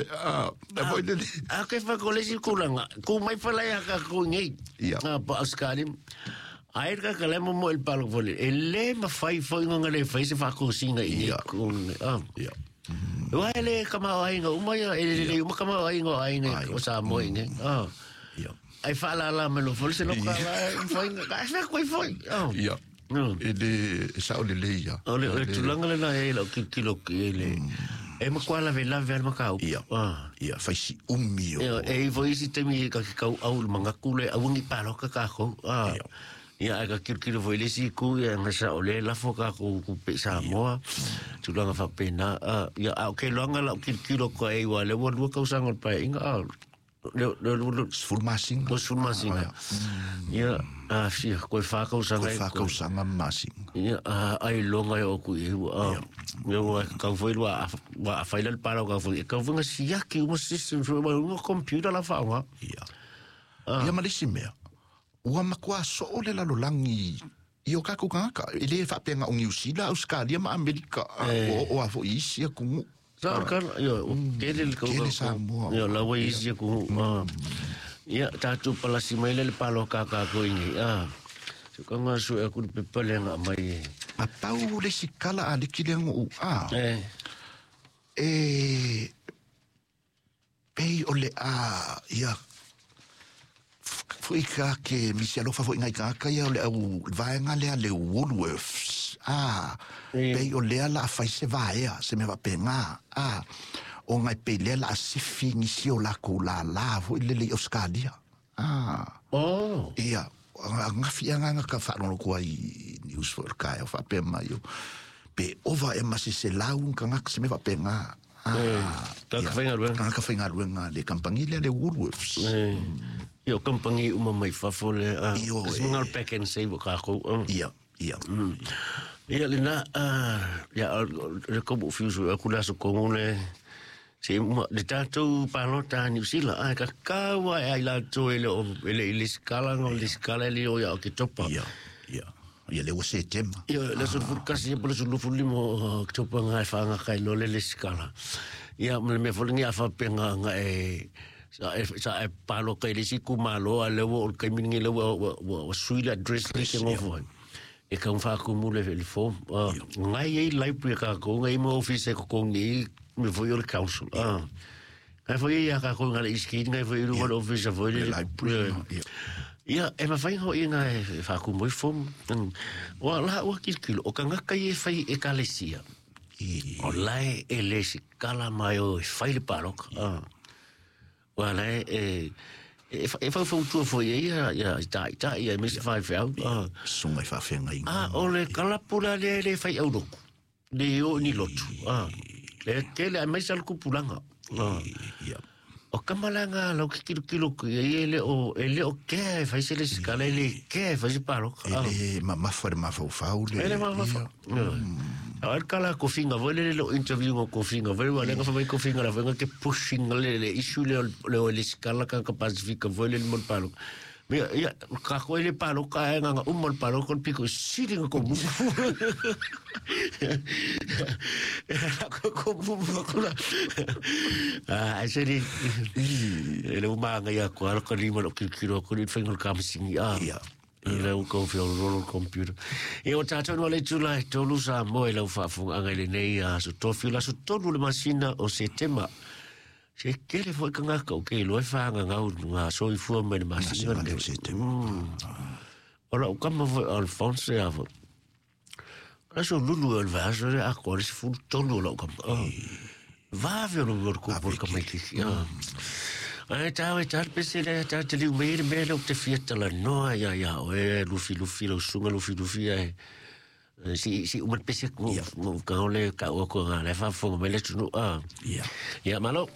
oe, a, e foi lele. A ke fa ko le si kulanga. Ku mai fa lai a ka ku ngi. Ia. A pa Australia. Ai ka ka le mo mo el palo fo le. E le ma fai fo inga le fai se fa ko singa i Ia. ku. Ah. Ia. Ua ele ka ma ai nga uma ia ele le uma ka ma ai nga ai nga o sa mo inga. Ah. Ia. Ai fa la la me lo fo se lo ka la fo inga. Ka fa ko fo. Ah. Ia. E le e sao le lei ia. O le tulaga lena e lau kilokilo ki le e makuā lavelave a le mataupu. Ia. Ah. Ia, fai si umi o. Ia, e i foi isi taimi ka ke kau au le magaku le auagi paloka kākou. Ah. Ia. Ia, ai ka kilokilo foi le isi itu, ia, nga sa o le lafo kākou kupe i Samoa. Tulaga faapena. Ah, ia, a o ke iloaga lau kilokilo ka e ua le ua lua tausaga o le paeaiga. Ah, le le le 10 masina. 10 masina. Ia, a fia, koe 4 tausaga. Koe 4 tausaga ma masina. Ia, a ai longa e o ku i ua. Ia, ua kau foi lua, ua a whaila le pālau kau foi. E kau foi nga siaki uma system, foi uma uma computer la whaonga. Ia. Ia ma le isi mea, ua matua soo le lalolagi i o kākou kānaka. E le faapea na o Niu Sila, Ausekalia ma Amerika, ua oo lava foi i isi atunuu. Sa o kala, ia, o tele le Tele Samoa. Ia, laua i isi atunuu. Ia, tātou palasi mai le le pāloka kākou i nei. So ka ngā sue aku le pepa le ngā mai e. Ma pau le isi kala a liki le nguu, E. E, pei o le a, ia, foi ka ke misi alofa foi ngai kāka ia o le au vaenga lea le Woolworths. Pei o lea la a fai se vaea, se mea faapena. O ngai pei lea la a sifi nisi o lakou lālā foi lele i Australia. Oh. Ia, gafi agaga ka faalogologo ai i news foi o le taeao faapea mai o pe ova e ma se selau tagata se mea faapena. Tagata faigaluega. Tagata faigaluega le kamupani lea le Woolworths. Ia, o kamupani uma mai fafo le, Io, se mga o le pack and save o kākou. Ia, ia. Ia, lena, ia, le kobu fiusu aku le aso kongo le, se uma, le tātou pālota a Niu Sila, ai, ka kaua e ai lātou e le o, e le i le sikala, ngau le sikala e le o ia o ke topa. Ia, ia. Ia le ua Setema. Ia, le aso 11, ia po le aso 25 o Oketopa ngā e whaangaka i lo le le sikala. Ia, ma le mea fo lengi a whapenga nga e, sa e, sa e pāloka i le isi kumalo, a le ua o le kaimi lengi le ua, ua, ua, ua sui le address le ke ngofo ai. E kau whaakumu le le form. Ngai e library ka ko, ngai mo office e kokongi i, me foi o le council. Ngai foi ia ka ko ngai iski, ngai foi i runga le office a foi le Le library, le ia. Ia, e mawhai hoi ngai e whaakumu i form. Wa la ua kilokilo, o ka ngaka i e whai e kalesia. O lae e le sikala mai o e whai le pāloka. Wa lae e, e e whauwhautua foi e ia, ia, i tā, i tā, ia, e misi whai whiau. Sunga i whawhenga i A, o le kalapula le le whai auroku. Le o ni lotu. Le tele a mai sa le kupulanga. Ia. O kamalanga lau ki kilo kilo ku ia, e le o, e le o kea e whai se le sikala, e le kea e whai se pāloka. E le mamafa le mafaufau le. E le mamafa. Ia. A el kala kofinga, voi le le interview ngo kofinga, voi wa lenga fa kofinga la voi ke pushing le le issue le le o le sikala ka ka Pasifika, voi le mo palo. Me ia ka ko le palo ka e nga umol palo kon piko siri ko mu. Ko ko mu ko la. Ah, seri. E le uma nga ia ko ala ko lima lo kilo ko ni fengo ka masingi. Ah. Ia. E lau kau whio rolo computer. E o tātou noa le tula e tolu sa moe lau whaafunga anga i le nei a so tofi la so tolu le masina o se tema. Se kere foi ka ngaka o ke loe whaanga ngau ngā soifua mai le masina Masina le o se tema. O lau kama foi Alphonse a foi. La so lulu e le vaso le a kore se fulu tolu o lau kama. Vave o lo ko por ka mai ki. Ai tā e tā pese le tā te liu mai le mea le o te fia tala noa ia ia o e lufi lufi lau sunga lufi lufi ai. Si si uma pese ko Ia. ka ole ka o ko ngā le whafonga mai le tunu. Ia. Ia malo.